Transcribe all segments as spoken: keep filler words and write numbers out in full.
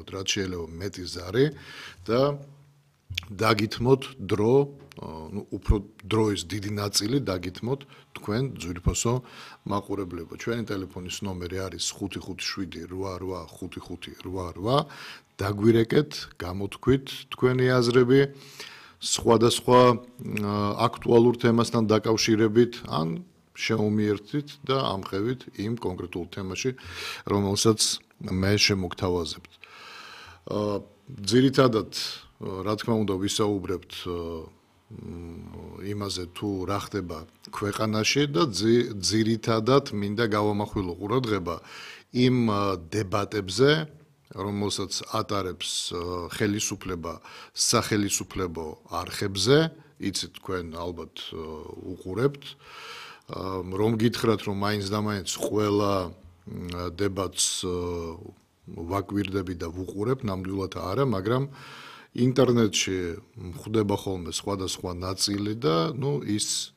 გავაკეთოთ რაც შეიძლება მეტი ზარი და დაგითმოთ დრო, ну, უფრო დროის დიდი ნაწილი დაგითმოთ თქვენ ძვირფასო მაყურებლებო. ჩვენი ტელეფონის ნომერი არის ხუთი ხუთი შვიდი რვა რვა ხუთი ხუთი რვა რვა. დაგვირეკეთ, გამოთქვით თქვენი აზრები სხვადასხვა აქტუალურ თემასთან დაკავშირებით ან შეუმიერთით და ამხევით იმ კონკრეტულ თემაში, რომელსაც მე შემოგთავაზებთ. ძირითადად რა თქმა უნდა ვისაუბრებთ იმაზე თუ რა ხდება ქვეყანაში და ძირითადად მინდა გავამახვილო ყურადღება იმ დებატებზე, რომელსაც ატარებს ხელისუფლება სახელისუფლებო არხებზე, იცით თქვენ ალბათ უყურებთ, რომ გითხრათ რომ მაინც და მაინც ყველა დებატს ვაკვირდები და ვუყურებ, ნამდვილად არა, მაგრამ ინტერნეტში ხდება ხოლმე სხვადასხვა ნაწილი და ნუ ის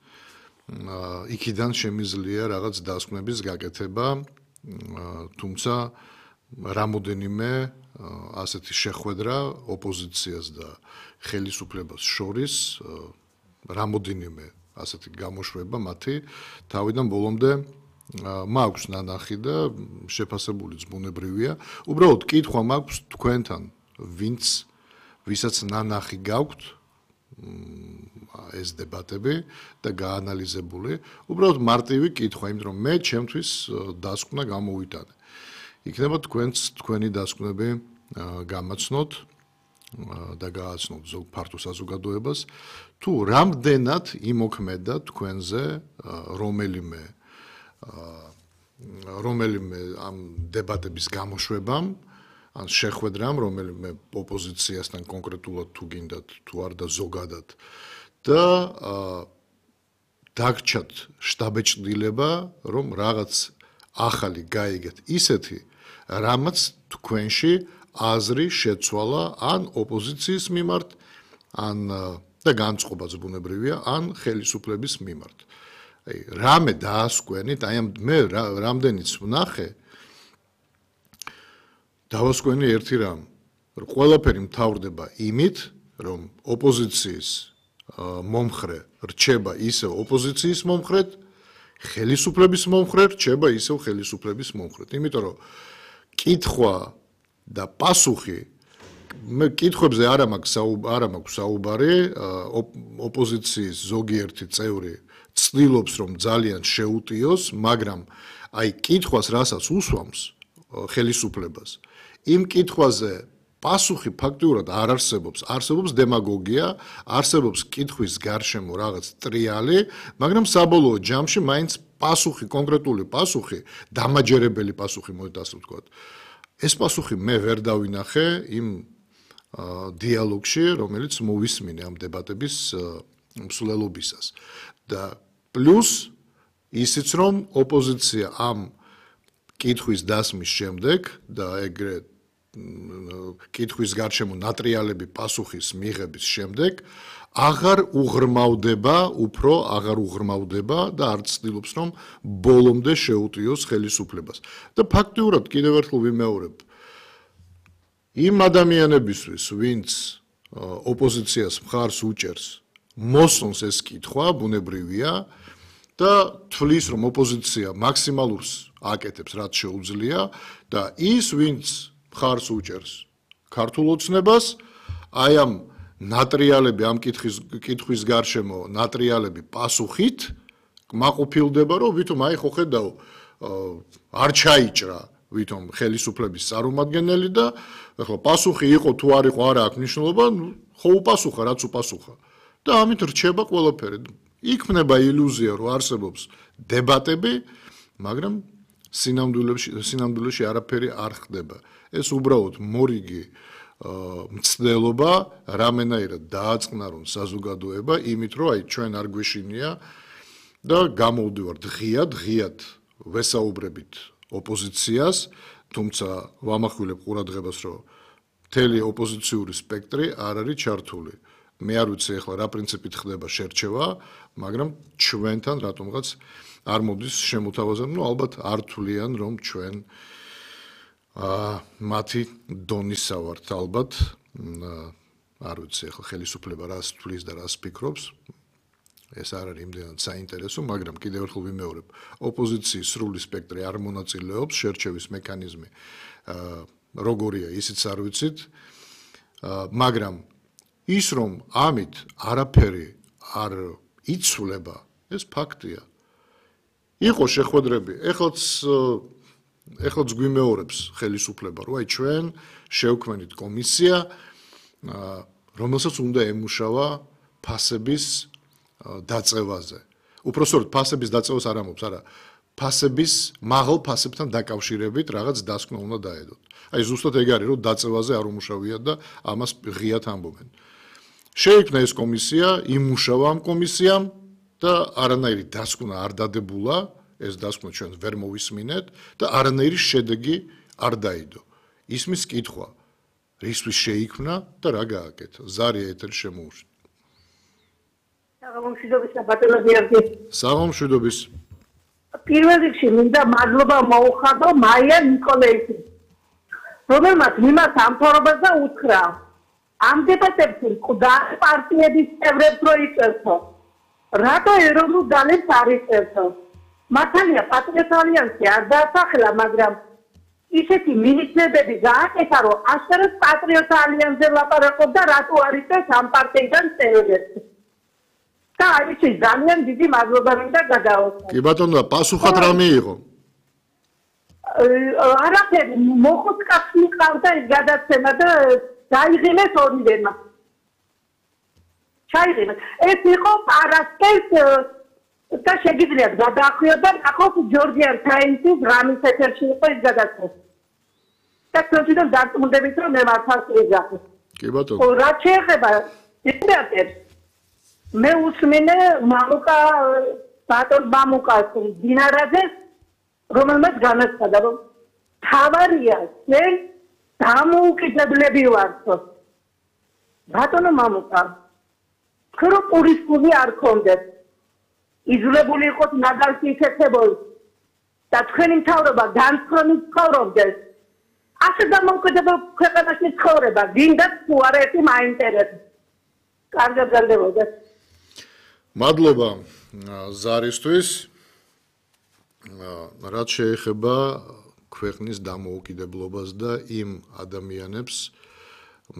იქიდან შემიძლია რაღაც დასკვნების გაკეთება, თუმცა რამოდენიმე ასეთი შეხვედრა ოპოზიციას და ხელისუფლებას შორის რამოდენიმე ასეთი გამოშვება მათი თავიდან ბოლომდე მაქვს ნანახი და შეფასებულიც ბუნებრივია. უბრალოდ კითხვა მაქვს თქვენთან, ვინც ვისაც ნანახი გაქვთ ეს დებატები და გაანალიზებული, უბრალოდ მარტივი კითხვა, იმიტომ რომ მე ჩემთვის დასკვნა გამოვიტანე. იქნება თქვენც თქვენი დასკვნები გამაცნოთ და გააცნოთ ზოგ ფართო საზოგადოებას, თუ რამდენად იმოქმედა თქვენზე რომელიმე რომელიმე ამ დებატების გამოშვებამ, ან შეხვედრამ, რომელიმე ოპოზიციასთან კონკრეტულად თუ გინდათ, თუ არ და ზოგადად და დაგჭათ შტაბეჭდილება, რომ რაღაც ახალი გაიგეთ ისეთი, რამაც თქვენში აზრი შეცვალა ან ოპოზიციის მიმართ, ან და განწყობაც ბუნებრივია, ან ხელისუფლების მიმართ. აი, რამე დაასკვენით, აი მე რამდენიც ვნახე, დავასკვენი ერთი რამ, რომ ყველაფერი მთავრდება იმით, რომ ოპოზიციის მომხრე რჩება ისევ ოპოზიციის მომხრედ, ხელისუფლების მომხრე რჩება ისევ ხელისუფლების მომხრედ. იმიტომ რომ კითხვა და პასუხი მე კითხვებზე არ მაქვს არ მაქვს საუბარი, ოპოზიციის ზოგიერთი წევრი ცდილობს რომ ძალიან შეუტიოს, მაგრამ აი კითხვას რასაც უსვამს ხელისუფლებას, იმ კითხვაზე პასუხი ფაქტიურად არ არსებობს, არსებობს დემაგოგია, არსებობს კითხვის გარშემო რაღაც ტრიალი, მაგრამ საბოლოო ჯამში მაინც პასუხი, კონკრეტული პასუხი, დამაჯერებელი პასუხი მოიყვანს ასე ვთქვათ. ეს პასუხი მე ვერ დავინახე იმ დიალოგში, რომელიც მოვისმინე ამ დებატების მსვლელობისას. და პლუს ისიც რომ ოპოზიცია ამ კითხვის დასმის შემდეგ და ეგრე კითხვის გარშემო ნატრიალები პასუხის მიღების შემდეგ აღარ უღრმავდება, უფრო აღარ უღრმავდება და არ ცდილობს რომ ბოლომდე შეუტიოს ხელისუფლებას. და ფაქტიურად კიდევ ერთხელ ვიმეორებ, იმ ადამიანებისთვის, ვინც ოპოზიციას მხარს უჭერს, მოსწონს ეს კითხვა, ბუნებრივია და თვლის რომ ოპოზიცია მაქსიმალურს აკეთებს, რაც შეუძლია და ის, ვინც მხარს უჭერს ქართულ ოცნებას, აი ამ ნატრიალები ამ კითხვის კითხვის გარშემო ნატრიალები პასუხით კმაყოფილდება, რომ ვითომ აი ხო ხედავ არ ჩაიჭრა ვითომ ხელისუფლების წარმომადგენელი და ახლა პასუხი იყო თუ არ იყო არა აქვს მნიშვნელობა, ხო უპასუხა, რაც უპასუხა. და ამით რჩება ყველაფერი. იქმნება ილუზია, რომ არსებობს დებატები, მაგრამ სინამდვილეში სინამდვილეში არაფერი არ ხდება. ეს უბრალოდ მორიგი მცდელობა, რამენაირად დააწყნარონ საზოგადოება, იმით რომ აი ჩვენ არ გვეშინია და გამოვდივართ ღიად, ღიად ვესაუბრებით ოპოზიციას, თუმცა ვამახვილებ ყურადღებას, რომ მთელი ოპოზიციური სპექტრი არ არის ჩართული. მე არ ვიცი ახლა რა პრინციპით ხდება შერჩევა, მაგრამ ჩვენთან რატომღაც არ მოდის შემოთავაზება, ну ალბათ არ თვლიან რომ ჩვენ მათი დონისა ვართ ალბათ არ ვიცი ახლა ხელისუფლება რას თulis და რას ფიქრობს ეს არ არის იმდენად საინტერესო მაგრამ კიდევ ერთხელ ვიმეორებ ოპოზიციის სრული სპექტრი არ მონაწილეობს შერჩევის მექანიზმი როგორია ისიც არ ვიცით მაგრამ ის რომ ამით არაფერი არ იცვლება ეს ფაქტია იყო შეხვედრები ეხლაც ეხლაც გვიმეორებს ხელისუფლება რომ აი ჩვენ შევქმნით კომისია რომელსაც უნდა ემუშავა ფასების დაწევაზე. უпроსტოდ ფასების დაწევას არ ამბობს, არა, ფასების მაღალ ფასებთან დაკავშირებით რაღაც დასკვნა უნდა დაედოთ. აი ზუსტად ეგ არის, რომ დაწევაზე არ უმუშავიათ და ამას ღიად ამბობენ. შეიქმნა ეს კომისია, იმუშავა ამ კომისიამ და არანაირი დასკვნა არ დადებულა, ეს დასკვნა ჩვენ ვერ მოვისმინეთ და არანაირი შედეგი არ დაიდო. ისმის კითხვა, რისთვის შეიქმნა და რა გააკეთა. ზარია ეთერ შემოუშვა. საღამომშვიდობის ბატონო გიორგი. საღამომშვიდობის. პირველ რიგში მინდა მადლობა მოუხადო მაია ნიკოლაიძეს, რომელმაც მიმართ ამთავრებას და უთხრა, ამ დებატებში მკვდა პარტიების წევრებს რო იწერთო, რატო ეროვნულ ძალებს არ იწერთო. მართალია პატრიოტ ალიანსი არ დაასახელა, მაგრამ ისეთი მინიჭებები გააკეთა, რომ ასერად პატრიოტ ალიანსზე ლაპარაკობდა, რატო არ იწერს ამ პარტიიდან წევრებს. და არის ძალიან დიდი მადლობა მინდა გადაუხადო. კი ბატონო, პასუხად რა მიიღო? არაფერი, მოხუც კაცი ყავდა ეს გადაცემა და დაიღიმეს ორივემა. ჩაიღიმეს. ეს იყო პარასკევს და შეგიძლიათ გადაახვიოთ და ნახოთ ჯორჯიან თაიმსის რამის ეთერში იყო ეს გადაცემა. და თვითონ დარწმუნდებით რომ მე მართალ ვიზახი. კი ბატონო. რა შეეხება დიპუტატებს მე უსმინე მამუკა ბატონ მამუკას დინარაძეს რომელმაც განაცხადა რომ თავარია ჩვენ დამოუკიდებლები ვართ ბატონო მამუკა ქრო პურისპული არ კონდეთ იძულებული იყოთ ნაგალში იქცებოდეს და თქვენი მთავრობა განსხვავებით ცხოვრობდეს ასე დამოუკიდებელ ქვეყანაში ცხოვრება გინდათ თუ არა ერთი მაინტერესებს კარგად გაგდებოდეს მადლობა ზარისთვის რაც შეეხება ქვეყნის დამოუკიდებლობას და იმ ადამიანებს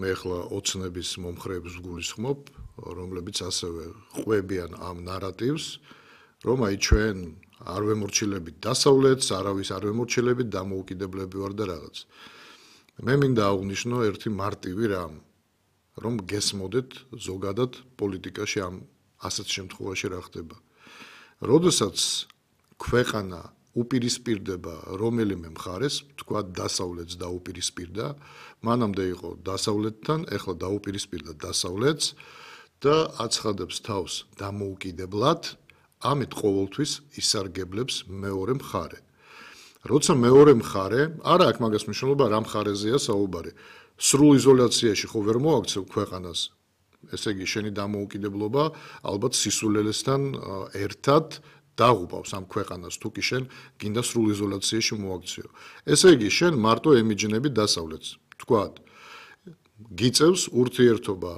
მე ახლა ოცნების მომხრეებს ვგულისხმობ რომლებიც ასევე ყვებიან ამ ნარატივს რომ აი ჩვენ არ ვემორჩილებით დასავლეთს არავის არ ვემორჩილებით დამოუკიდებლები ვარ და რაღაც მე მინდა აღვნიშნო ერთი მარტივი რამ რომ გესმოდეთ ზოგადად პოლიტიკაში ამ ასეთ შემთხვევაში რა ხდება. როდესაც ქვეყანა უპირისპირდება რომელიმე მხარეს, თქვა დასავლეთს დაუპირისპირდა, მანამდე იყო დასავლეთთან, ეხლა დაუპირისპირდა დასავლეთს და აცხადებს თავს დამოუკიდებლად, ამით ყოველთვის ისარგებლებს მეორე მხარე. როცა მეორე მხარე, არა აქვს მაგას მნიშვნელობა რა მხარეზეა საუბარი. სრულ იზოლაციაში ხო ვერ მოაქცევ ქვეყანას. ესე იგი შენი დამოუკიდებლობა ალბათ სისულელესთან ერთად დაღუპავს ამ ქვეყანას თუ კი შენ გინდა სრულ იზოლაციაში მოაქციო. ესე იგი შენ მარტო ემიჯნები დასავლეთს. თქვათ გიწევს ურთიერთობა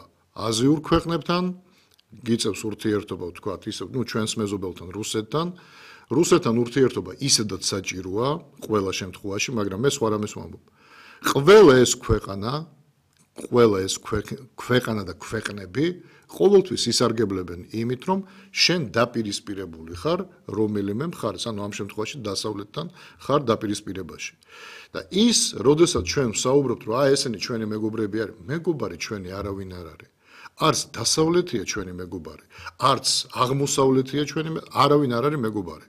აზიურ ქვეყნებთან, გიწევს ურთიერთობა თქვათ ისე ნუ ჩვენს მეზობელთან რუსეთთან. რუსეთთან ურთიერთობა ისედაც საჭიროა ყველა შემთხვევაში, მაგრამ მე სხვა რამეს ვამბობ. ყველა ეს ქვეყანა ყველა ეს ქვეყანა და ქვეყნები ყოველთვის ისარგებლებენ იმით, რომ შენ დაპირისპირებული ხარ რომელიმე მხარეს, ანუ ამ შემთხვევაში დასავლეთთან ხარ დაპირისპირებაში. და ის, როდესაც ჩვენ ვსაუბრობთ, რომ აი ესენი ჩვენი მეგობრები არის, მეგობარი ჩვენი არავინ არ არის. არც დასავლეთია ჩვენი მეგობარი, არც აღმოსავლეთია ჩვენი, არავინ არ არის მეგობარი.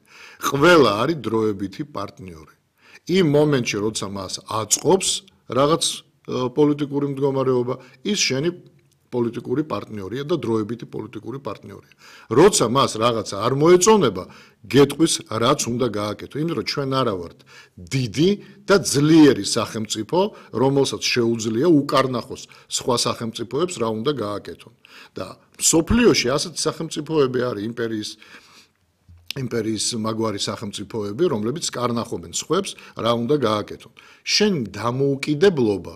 ყველა არის დროებითი პარტნიორი. იმ მომენტში, როცა მას აწყობს რაღაც პოლიტიკური მდგომარეობა, ის შენი პოლიტიკური პარტნიორია და დროებითი პოლიტიკური პარტნიორია. როცა მას რაღაცა არ მოეწონება, გეტყვის რაც უნდა გააკეთო. იმიტომ რომ ჩვენ არა ვართ დიდი და ძლიერი სახელმწიფო, რომელსაც შეუძლია უკარნახოს სხვა სახელმწიფოებს რა უნდა გააკეთონ. და მსოფლიოში ასეთი სახელმწიფოები არის იმპერიის იმპერიის მაგვარი სახელმწიფოები, რომლებიც კარნახობენ სხვებს, რა უნდა გააკეთონ. შენ დამოუკიდებლობა